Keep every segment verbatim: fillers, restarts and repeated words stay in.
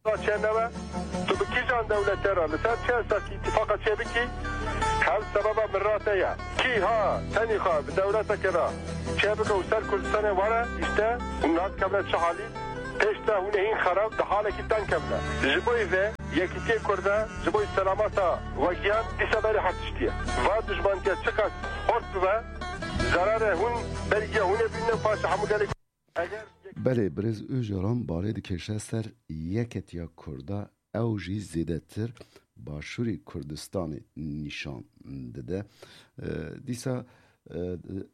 Çênebe, tu bi kîjan dewlete re, li ser çi esasî îtîfaqa çêbikî? Hev sebeba mirate ye. Kî ha tenî xwe bi dewleteke re çêbike û ser Kurdistanê were, îşte hûn nadikevine çi halî? Pêş de hûn ê hîn xerab di halekî teng kevine. Ji bo vê yekîtiyê Kurda, ji bo selamata we giyan, dîsa berê her tiştî ye. Va dijmantiya çiqas xurt bibe, zerarê hûn berî giya hûn ê bînin û paşê hemû gelê Belê, birêz Ocalan balê dikêşe ser yeketiya Kurda, ew jî zêdetir Başûrê Kurdistanê nîşan dide. E, dîsa, e,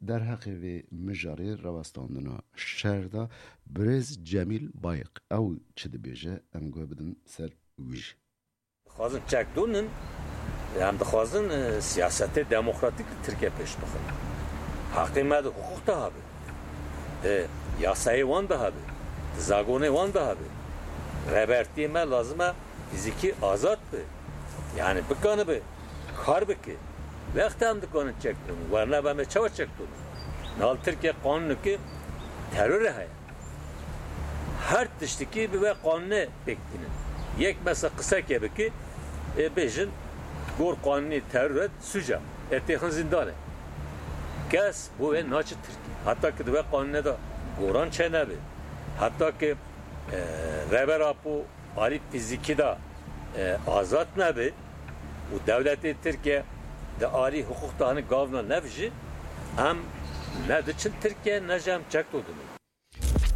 derheqê vê mijarê rawestandina şer de birêz Cemîl Bayik ew çi dibêje, em guh bidin ser wî jî. Dixwazin çekdûnin, em dixwazin, e, siyasetê demokratîk li Tirkiye pêş bixin. Heqê me di hiqûq de hebe. E, yasayê wan de hebe. Di zagonê wan de hebe. Rêbertiyê me lazim e fîzîkî azad be. Yani bikanibe kar bike. Wexta em dikanin çekdûnin. Werna be me çawa çekdûnin? Nal Tirkiye qanûneke terorê heye. Her tiştikî bi vê qanûnê pêk tînin. Yek mesela qiseke bike, ê bêjin gor qanûnê teror e, suc e. Ê têxin zîndanê. Kes bo wê naçe Tirkiye. Heta ki di vê qanûnê de goran çênebe. Heta ki, e, Rêber Apo alî fîzîkî de, e, azad nebe û dewletê Tirkiye di alî hiqûq de hinek gavna nevijî, em ne diçin Tirkiye, ne jî em çekdûn dibin.